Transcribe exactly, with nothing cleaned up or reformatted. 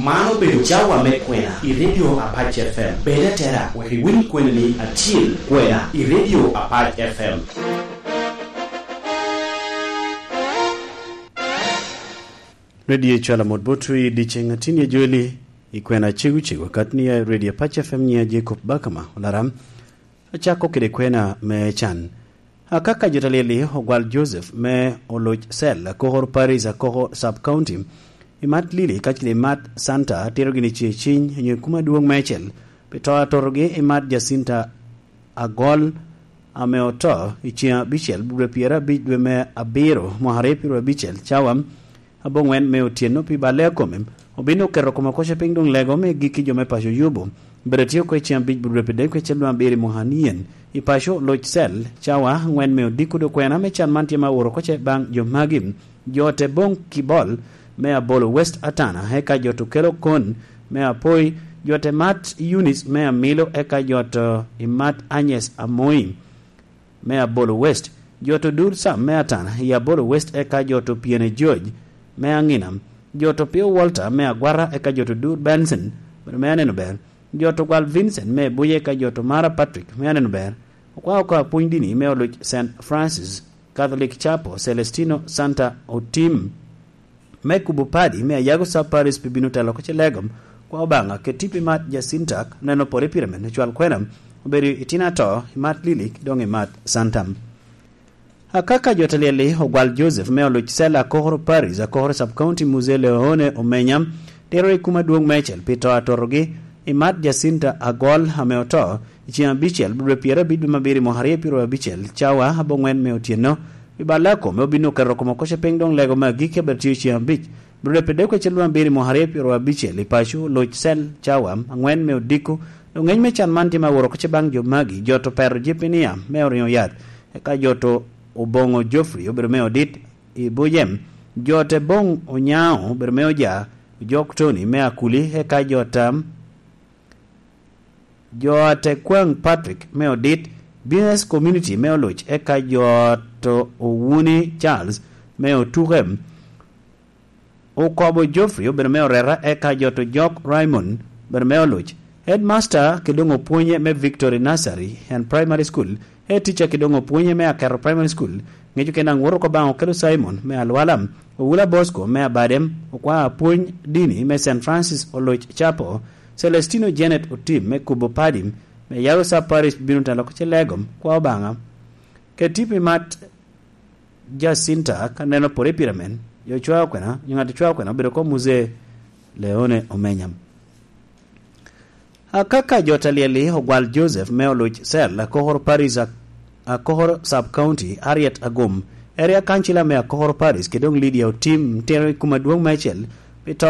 Man obedo cawa me kwena i Radio Apac F M. Bed atera wek iwiny kwenani acil, kwena i Radio Apac F M. Radio Cwala mot botwu i dyeceŋ atin i Joli, i kwena cegu cegu, kat ni a Radio Apac F M nyiŋ a Jacob Bakama Olaram. Acako kede kwena me can. Akaka jo ta lyel-li ogwal Joseph me oloc cell Akokor Parish, Akokor Sub County, i mat Lili kacel i mat Santa, tero gini ce ciny onyo i kuma dwong meicel, pi to atotogi i mat Jacinta Agol, ame oto i ceŋ abicel, dwe pyerabic dwe me abiro, mwaka aryo pyeraryo abicel, cawa aboŋwen me otyeno pi balle a kome. Obin oketo kome oko ce piny doŋ lego me gikki jo me paco Yubu. Bedo tye oko i ceŋ abic, dwe pyeraryo abicel dwe abiro i mwaka anyen. I paco, loc cell, cawa aŋwen me odiko dwe kwena me can man tye ma oro oko ce baŋ jo magi. Jo te boŋ Kibol me Abolo West Atana, eka jo to kelo kon me Apoi, jo te mat Eunice me Amilo, eka jo to i mat Agnes Amoi me Abolo West, jo to dur Sam me Atana i Abolo West, eka jo to Piene George me Aŋina, jo to Pio Walter me Agwara, eka jo to dur Benson, bedo me aneno ber, jo to gwal Vincent me Buye, eka jo to Mara Patrick me aneno ber. Okwa oko apwony dini me oloc Saint Francis Catholic Chapel, Celestino Santa Otim, me kubo padi me Ayago Sub Parish pi bino telo oko ce legom, kwa Obaŋa, keti pi mat Jacinta, neno pore pire men, cwal kwena, obedo i tina to, i mat Lili, doŋ i mat Santa. Akaka jo ta lyel-li ogwal Joseph me oloc cell Akokoro Parish, Akokoro Sub County, Mzee Leone Omenya, tero i kuma dwong meicel pi to atotogi, i mat Jacinta Agol ame oto, i ceŋ abicel, dwe pyerabic dwe me abiro i mwaka aryo pyeraryo abicel, cawa aboŋwen me otyeno, pi balle a kome obin oketo kome oko ce piny doŋ lego me agikki abet tye i ceŋ abic, dwe pyeraryo abicel dwe me abiro i mwaka aryo pyeraryo abicel, i paco, loc cell, cawa aŋwen me odiko, doŋ ŋeny me can man tye ma woro oko ce baŋ jo magi, jo to Pero Jepinia me Oriŋo Yath, eka jo to Oboŋo Geoffrey obedo me odit i Bujem, jo te Boŋ Onyaŋo obedo me Oja, Ojok Tony me Akuli, eka jo ta jo a te Kwaŋ Patrick me Odit, Business Community me Oluc, eka jo a to Owuni Charles me Otuke, Okobo Geoffrey obedo me Oreta, eka jo to Jok Raymond obedo me Oluc, Headmaster kede doŋ opwonye me Victory Nursery and Primary School, Head Teacher kede doŋ opwonye me Aketo Primary School, ŋeco kede naŋ woto oko baŋ Okelo Simon me Alwala, Owula Bosco me Abadem, okwa apwony dini me Saint Francis Oluc Chapel, Celestino Janet Otim me Kubo Padi, me Yago Sub Parish bino telo oko ce legom, kwa Obaŋa. Keti pi mat Jacinta ka neno pore pire men, jo cwao kwena, jo ŋat cwao kwena obedo ko Mzee Leone Omenya. Akaka jo ta lyel-li ogwal Joseph me Oluc Cell, Akokoro Parish, Ak-, Akokoro Sub County, Harriet Agum, Area Councilor me Akokoro Parish, kede doŋ Lydia Otim, tero i kuma dwong meicel, pi to